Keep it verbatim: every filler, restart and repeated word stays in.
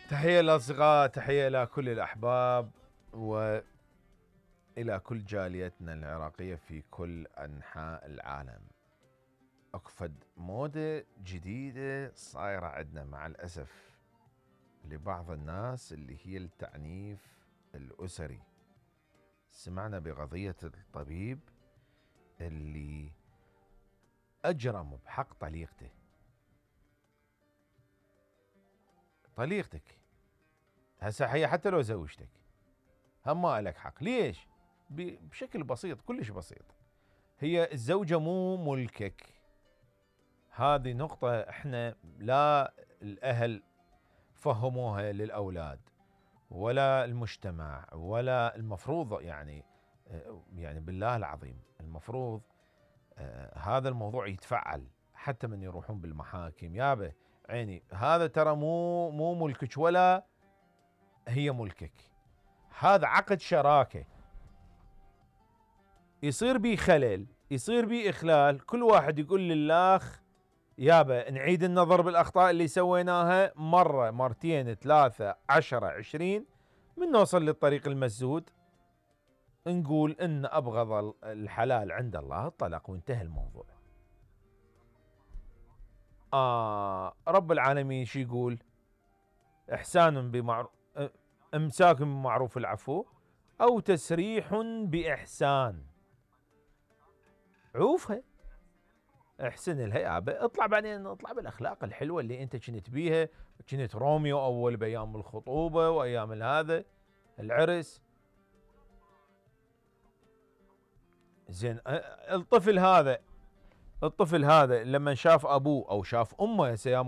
تحية للأصدقاء، تحية إلى كل الأحباب وإلى كل جاليتنا العراقية في كل أنحاء العالم. أكفد مودة جديدة صايرة عندنا مع الأسف لبعض الناس اللي هي التعنيف الأسري. سمعنا بقضية الطبيب اللي أجرم بحق طليقته. طليقتك هسه هي حتى لو زوجتك هم ما لك حق. ليش؟ بشكل بسيط، كلش بسيط. هي الزوجة مو ملكك. هذه نقطة احنا لا الأهل فهموها للأولاد ولا المجتمع ولا المفروض، يعني يعني بالله العظيم المفروض آه هذا الموضوع يتفعل حتى من يروحون بالمحاكم. يابا عيني، هذا ترى مو مو ملكك ولا هي ملكك. هذا عقد شراكة، يصير بيه خلل، يصير بيه إخلال، كل واحد يقول للآخ يابا نعيد النظر بالأخطاء اللي سويناها مرة مرتين ثلاثة عشرة عشرين، من نوصل للطريق المسدود نقول إن أبغض الحلال عند الله الطلاق وانتهى الموضوع. آه رب العالمين شو يقول؟ إحسان بمعروف، إمساك بمعروف العفو أو تسريح بإحسان. عوفها، احسن لها يابا، اطلع بعدين اطلع بالاخلاق الحلوه اللي انت كنت بيها، كنت روميو اول بايام الخطوبه وايام هذا العرس. زين الطفل هذا الطفل هذا لما شاف ابوه او شاف امه، هسه